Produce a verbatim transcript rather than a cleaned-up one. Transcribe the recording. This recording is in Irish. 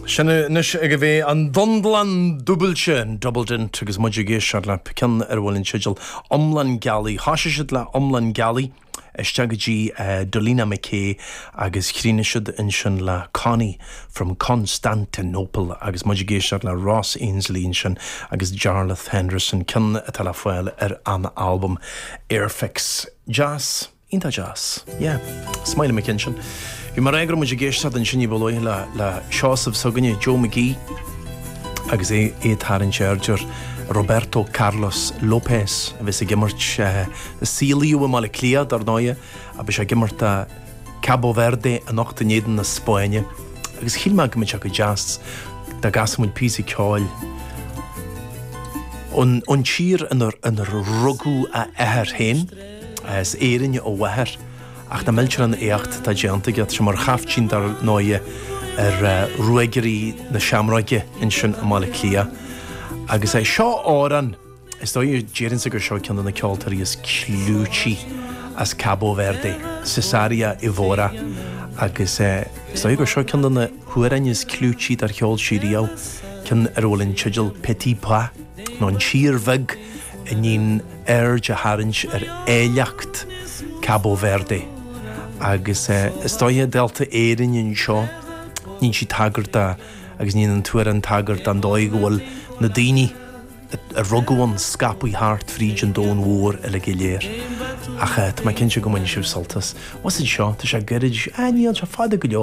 Sin anois ag a bheith an dundlan dúbailte an Double Dent agus muid ag éisteacht le ceann ar a bhfuil an teideal Iomlán Gealaí. Thosaigh siad le Iomlán Gealaí isteach go dtí uh, Dolina McKay agus chríochnaigh siad ansin le Connie from Constantinople agus muid ag éisteacht le Ross Ainslie ansin agus Jarlath Henderson ceann atá le fáil ar an albam Airfix. Jazz Iontach deas. Yeah, Smiley McKinsion. Bhí mar agra muid ag éisteacht ansin ní ba luaithe le le Seosamh s'againne Joe McGee agus é é tarraingt aird ar Roberto Carlos Lopez a bhí ag imirt uh, saolaithe i mBaile Átha Cliath dar ndóigh a bhí sé ag imirt Cabo Verde anocht in éadan na Spáinne. Agus shíl mé go mbeadh sé go deas dá gcasfadh muid píosa ceoil. Ón ón tír inar inar rugadh a athair féin, as Éirinn a mháthair, ach na milltear an éacht atá déanta aige sé mar chaiftín dar ndóigh ar uh, Ruagairí na Seamróige ansin i mBaile Átha Cliath. Agus é seo amhrán is dóigh déarfainnse gur seo ceann de na ceoltóirí is clúití as Cabo Verde, Cesária Évora agus uh, is dóigh gur seo ceann de na hamhráin is clúití dar cheol sí riamh ceann ar a bhfuil an teideal Petit Pas nó an tír bheag a ndéanann aird a tharraingt ar áilleacht Cabo Verde. Agus uh, is dóigh Delta Éirinn anseo níonn sí tagairt agus níonn an tuair an tagairt an dóigh go bhfuil na daoine a rugadh ann scaipthe thart fríd an domhan mhór uile go léir. Ach tá mé cinnte go mbainfidh sibh sult as. Was seo tá sé gairid a níl sé fada go leor.